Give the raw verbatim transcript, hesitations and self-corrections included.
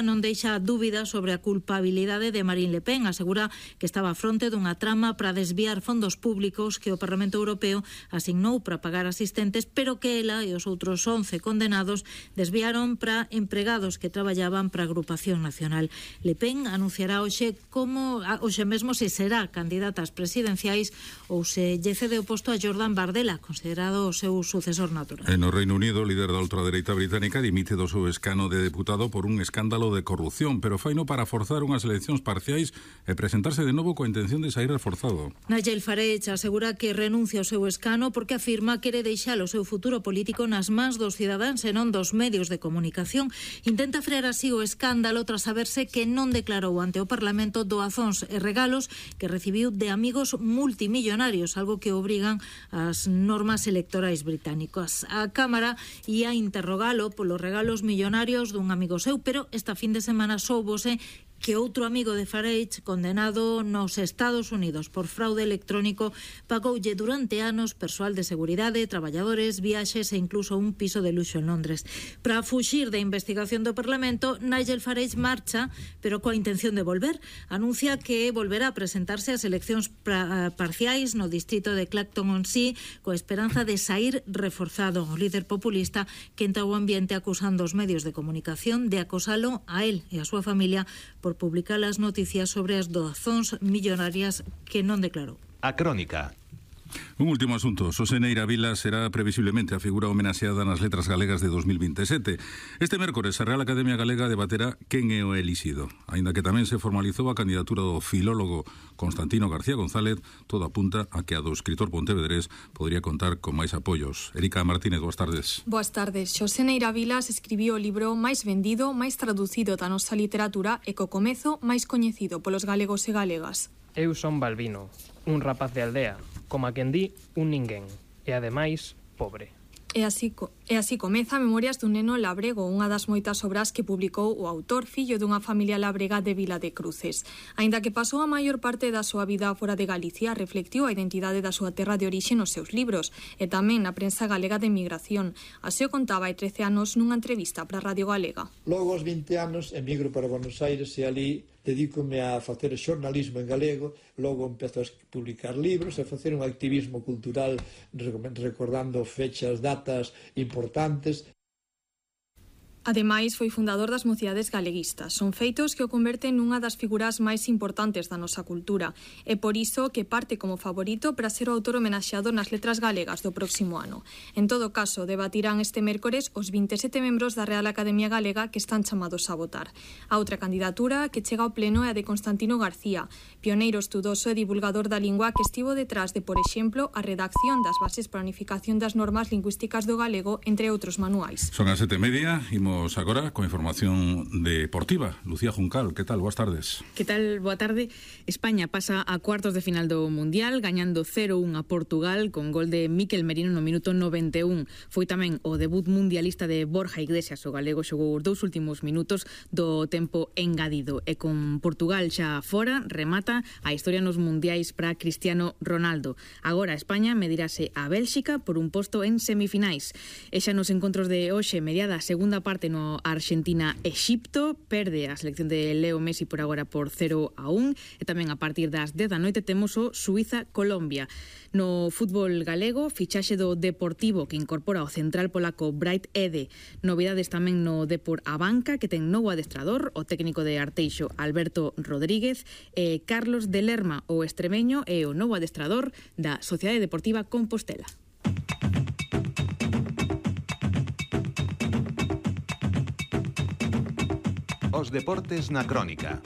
non deixa dúbidas sobre a culpabilidade de Marine Le Pen. Asegura que estaba a fronte dunha trama para desviar fondos públicos que o Parlamento Europeo asignou para pagar asistentes, pero que ela e os outros once condenados desviaron para empregados que traballaban para a Agrupación Nacional. Le Pen anunciará hoxe como hoxe mesmo se será candidata ás presidenciais ou se lle cede o posto a Jordan Bardella, considerado o seu sucesor natural. En o Reino Unido, o líder da ultradereita británica dimite do seu escano de deputado por un escándalo de corrupción, pero faino para forzar unhas eleccións parciais e presentarse de novo coa intención de sair reforzado. Nigel Farage asegura que renuncia ao seu escano porque afirma que quere deixar o seu futuro político nas mans dos cidadáns e non dos medios de comunicación. Intenta frear así o escándalo tras saberse que non declarou ante o Parlamento doazóns e regalos que recibiu de amigos multimillonarios, algo que obrigan as normas electorais británicas. A Cámara ia interrogalo polos regalos millonarios dun amigo seu, pero esta fin de semana soubose que outro amigo de Farage, condenado nos Estados Unidos por fraude electrónico, pagoulle durante anos persoal de seguridade, traballadores, viaxes e incluso un piso de luxo en Londres. Para fuxir da investigación do Parlamento, Nigel Farage marcha, pero coa intención de volver. Anuncia que volverá a presentarse ás eleccións parciais no distrito de Clacton-on-Sea coa esperanza de sair reforzado. O líder populista quenta o ambiente acusando os medios de comunicación de acosalo a él e a súa familia por publicar as noticias sobre as doazóns millonarias que non declarou. A Crónica. Un último asunto. Xosé Neira Vila será previsiblemente a figura homenaxeada nas Letras Galegas de dos mil veintisiete. Este mércores a Real Academia Galega debaterá quen é o elixido. Aínda que tamén se formalizou a candidatura do filólogo Constantino García González, todo apunta a que a do escritor pontevedrés podría contar con máis apoios. Erika Martínez, boas tardes. Boas tardes. Xosé Neira Vilas escribiu o libro máis vendido, máis traducido da nosa literatura e co comezo máis coñecido polos galegos e galegas. Eu son Balbino, un rapaz de aldea, como a quen di, un ninguén, e ademais, pobre. E así, e así comeza Memorias dun neno labrego, unha das moitas obras que publicou o autor, fillo dunha familia labrega de Vila de Cruces. Aínda que pasou a maior parte da súa vida fora de Galicia, reflectiu a identidade da súa terra de orixe nos seus libros, e tamén na prensa galega de emigración. Así o contaba hai trece anos nunha entrevista para Radio Galega. Logo aos vinte anos emigro para Buenos Aires e ali dedícome a facer xornalismo en galego, logo empezo a publicar libros, a facer un activismo cultural recordando fechas, datas importantes. Ademais, foi fundador das Mocidades Galeguistas. Son feitos que o converten nunha das figuras máis importantes da nosa cultura. É por iso que parte como favorito para ser o autor homenaxeado nas Letras Galegas do próximo ano. En todo caso, debatirán este mércores os vinte e sete membros da Real Academia Galega que están chamados a votar. A outra candidatura que chega ao pleno é a de Constantino García, pioneiro estudoso e divulgador da lingua que estivo detrás de, por exemplo, a redacción das bases para a unificación das normas lingüísticas do galego, entre outros manuais. Son as sete e media, imos agora con información deportiva. Lucía Juncal, que tal? Boas tardes. Que tal? Boa tarde. España pasa a cuartos de final do Mundial, gañando cero un a Portugal con gol de Mikel Merino no minuto noventa e un. Foi tamén o debut mundialista de Borja Iglesias. O galego xogou os dous últimos minutos do tempo engadido. E con Portugal xa fora, remata a historia nos mundiais para Cristiano Ronaldo. Agora España medirase a Bélxica por un posto en semifinais. E xa nos encontros de hoxe, mediada a segunda parte no Argentina-Exipto, perde a selección de Leo Messi por agora por cero a un, e tamén a partir das dez da noite temos o Suiza-Colombia. No fútbol galego, fichaxe do Deportivo que incorpora o central polaco Bright Ede. Novidades tamén no Depor Abanca, que ten novo adestrador, o técnico de Arteixo Alberto Rodríguez, e Carlos de Lerma, o extremeño, e o novo adestrador da Sociedade Deportiva Compostela. Os deportes na Crónica.